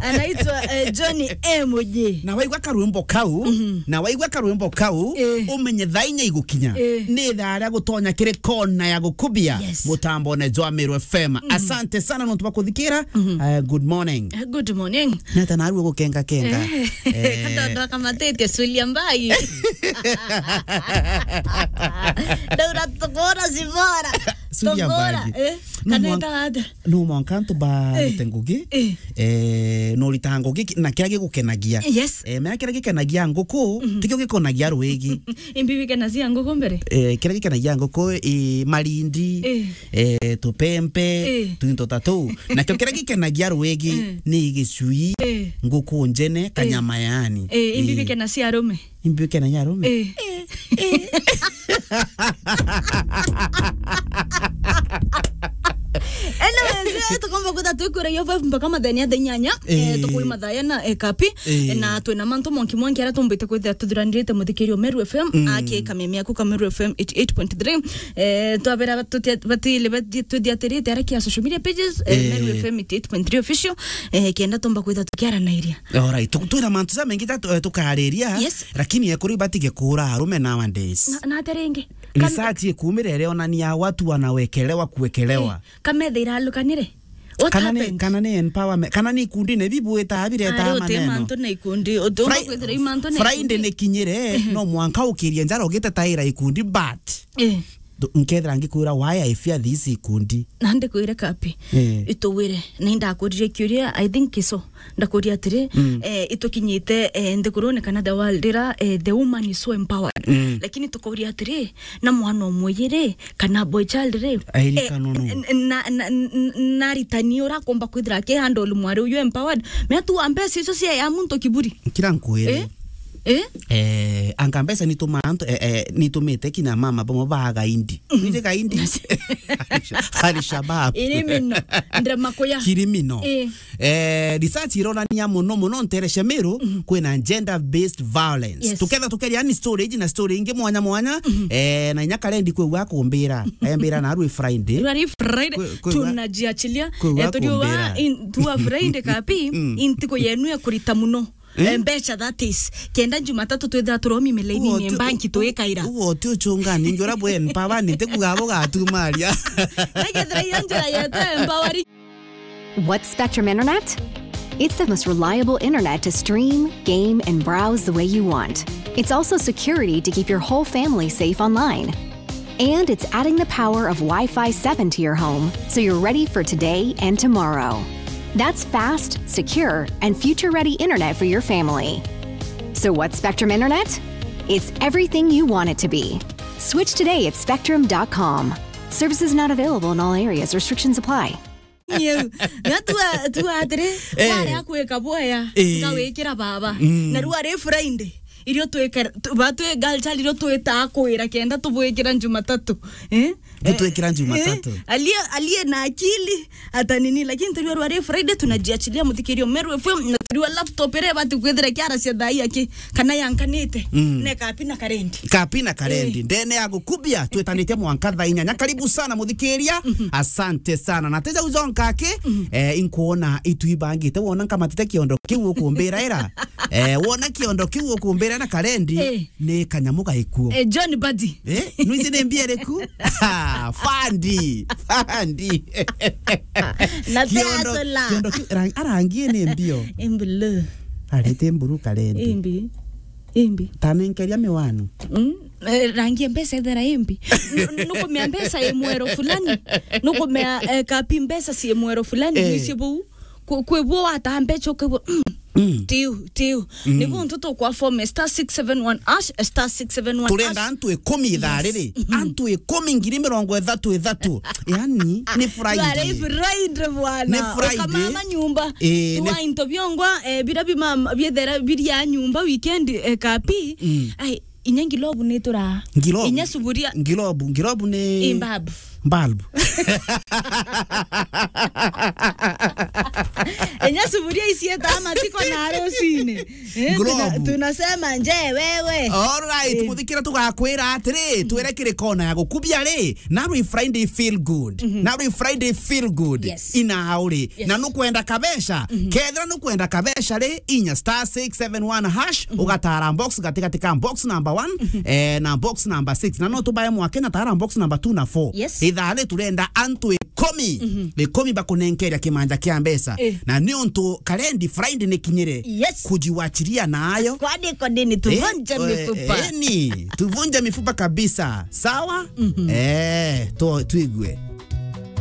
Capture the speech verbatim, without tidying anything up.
Anaitwa, eh, Johnny M J. Na waigua karwimbo kau, mhm, na waigua karwimbo kau, eh, umenye thaa inya igukinya. Eh. Ni thaa ria gutonya kiri kona ya gukubia, yes, mutambone jwa Meru F M. Mhm. Asante sana nontu bwa kuthikira. Mhm. Eh, good morning. Eh, good morning. Nata narua gukenga kenga. Eh. Eh. Katondo akamatite Sulia Mbai. Ndaura tukora zibora. Sulia Mbai. Tukora, eh? No mwanka, kaneta atia? No mwanka antu barute, eh, ngugi. Eh. Eh, no rita ngugi ki-, na kiria gigukenagia. Yes. Eh, mea kiria gikenagia nguku, mhm, tikio gikonagia rwigi. Imbi bikenagia nguku mbere? Eh, kiria gikenagia nguku, eh, marindi, eh, eh, tupempe, eh, twinto ta tuu. Nakio kiria gikenagia rwigi, eh, ni gicui, eh, nguku njene, eh, kanyama yani. Eh, imbi, eh, bikenagia arume? Imbi bikenagia arume? Eh. Eh. Anyways, eh, tukomba kwitha twikuragia five mpaka mathenya thaa inyanya. Eh, eh, tukui mathaya na, eh, kapi. Eh. Eh, na twina mantu mwanki mwanki aria tumbite kwithira tuthuranirite muthikirio Meru F M, mm, aki kameme aku ka Meru F M eighty-eight point three. Eh, twabera batutia-, batile bathi-, tuthiatirite aria kia social media pages, eh, eh, Meru F M eighty-eight point three official, eh, kenda tumba kwitha tukiaranairia. Alright, tu-, twina mantu ja mengi ja tu-, eh, tukariria, yes, lakini ekuru ibatige kuura arume nowadays. Na, na atia ringi? Kan- Research ikumire irionania watu wanawekelewa kuwekelewa. Eh, kametha iralukanire? What happened? Kana ni, kana ni empowerment, kana ni ikundi ni bibwita bireta maneno. Ari uti mantu na ikundi, uti umba kwithira i mantu na ikundi. Friday ni kinyire, no mwanka ukirie njara ugitetaira ikundi, but, eh, nkethira ngikwira why I fear this ikundi. Na ndikwire kapi. Eh. Itugwire, na indakuririe kiuria, I think so. Ndakuria atiri, mm, eh, itukinyite, eh, nthigurune kana the world ira, eh, the woman is so empowered. Mm. Lakini tukuria atiri, na mwana umwe ri, kana boy child ri, airikana, eh, no, n-, n-, na, na, n-, n-, naritani ura akomba kwithira aki handle mwari uyu empowered. Mea tu wa mbeca icio cia ya muntu kiburi. Kira nkwire. Eh? Eh? Eh, anga mbeca nitumaa antu, eh, eh, nitumite kinya mama bamwe ba gaindi. Mhm. Nije gaindi. Al-Shabab. Iri mino. Ndira makuya. Kiri mino. Eh. Eh, research ironania muno muno ntere cia Meru, mhm, kwina gender based violence. Yes. Tuketha tukeria yani story iji na story ingi mwanya mwanya, mhm, eh, na inya karendi kwigua akumbira. Ayambira na rwi Friday. Rwi Friday, kwe-, kwigua, tunajiachilia. Kwigua, eh, turiuga akumbira. In, tua Friday kapi, mm, intiku yenu ya kurita muno. Eh? Eh, mbeca, that is. Kenda Jumatatu twithira turomi milaini-ini, ugo ti-, banki u-, twikaira. Ugo ti uchunga ningi ura bwe empower ni ntiku gabo gatumaria. Nekethira iyo njira yetu empower. What's Spectrum Internet? It's the most reliable internet to stream, game, and browse the way you want. It's also security to keep your whole family safe online. And it's adding the power of Wi-Fi seven to your home, so you're ready for today and tomorrow. That's fast, secure, and future-ready internet for your family. So what's Spectrum Internet? It's everything you want it to be. Switch today at spectrum dot com. Services not available in all areas. Restrictions apply. Yeu. Na tua, tua atiri, eh, wari akwika bwea, eh, ngawikira baba. Mm. Na rua ri Friday, irio twikira, tu-, ba twi girl child irio twita kwira kenda tubwikira Jumatatu. Eh? Butwikira Jumatatu. Eh? Aliye, aliye na akili, ata nini, lakini tujua rwa ri Friday tunajiachilia muthikirio Meru F M, na tujua laptop ire bati kwithira kiara cia thaa ii aki, kana yankanite, mm, ne kapi na karendi. Kapi na karendi. Eh. Ndene ya gukubia, twitanitie mwanka thaa inyanya. Karibu sana muthikiria. Mhm. Asante sana. Na teja ujonka aki, mhm, eh, inkuona itu ibangite, wona nkamatite kiondo kiu ukumbira ira. Eh, wona kiondo kiu ukumbira na karendi, eh, ni kanyamu gaikuo. Eh, John Buddy. Eh, nwiji ni mbia iriku? Fandi, fandi. Na kiondo, peasola. Kiondo kiu, rang-, arangie ni mbio. Imbi lu. Arete mburu karendi. Imbi. Imbi. Tanenkeria miwanu. Mm, eh, rangi ya mbeca ethera imbi. N-, n-, nukumea mbeca i mwero fulani. Nukumea, eh, kapi mbeca ci mwero fulani, eh, icio buu. Ku-, kwi bwo wataa mbeca ukigua, mm, mm, tiu, tiu. Mm. Niguo ntu tukwa form star six seven one hash, star six seven one hash. Turenda antu ikumi ithaa riri. Yes. Mhm. Antu ikumi ngiri mirongo ithatu ithatu. Yani, ni Friday. Friday bwana. Ni Friday. Ukamama nyumba. Eh, tuwa ni into biongwa, eh, bira bima-, biethera biria nyumba weekend, eh, kapi. Mm. Ai, inya ngilobu ni tura. Ngilobu. Inya suburia. Ngilobu, ngilobu ni, i, bulb. Bulb. Inya suburia icieta matiko na rucini. Eh, tuna-, Globe. Tunasema nje wewe. Alright, Eh. Muthikira tugakwira atiri, twire kiri kona ya gukubia ri, narwi Friday feel good. Narwi Friday feel good. Yes. Ina auri. Yes. Na nukwenda kabesha, kethira nukwenda kabesha ri, inya star six seven one hash, ugatara box gatigati ka box number one, eh, na box number six. Na no tubae mwakenya tara box number two na four. Yes. Ithaa ri turenda antu ikumi, ikumi bakunenkeria kimanja kia mbeca. Eh. Na ni untu karendi Friday ni kinyire. Yes. Kujiwachilia nayo. Kwani kodini tuvunje Eh, mifupa. Eh, ni, tuvunje mifupa kabisa. Sawa? Eh, tu-, tuigue.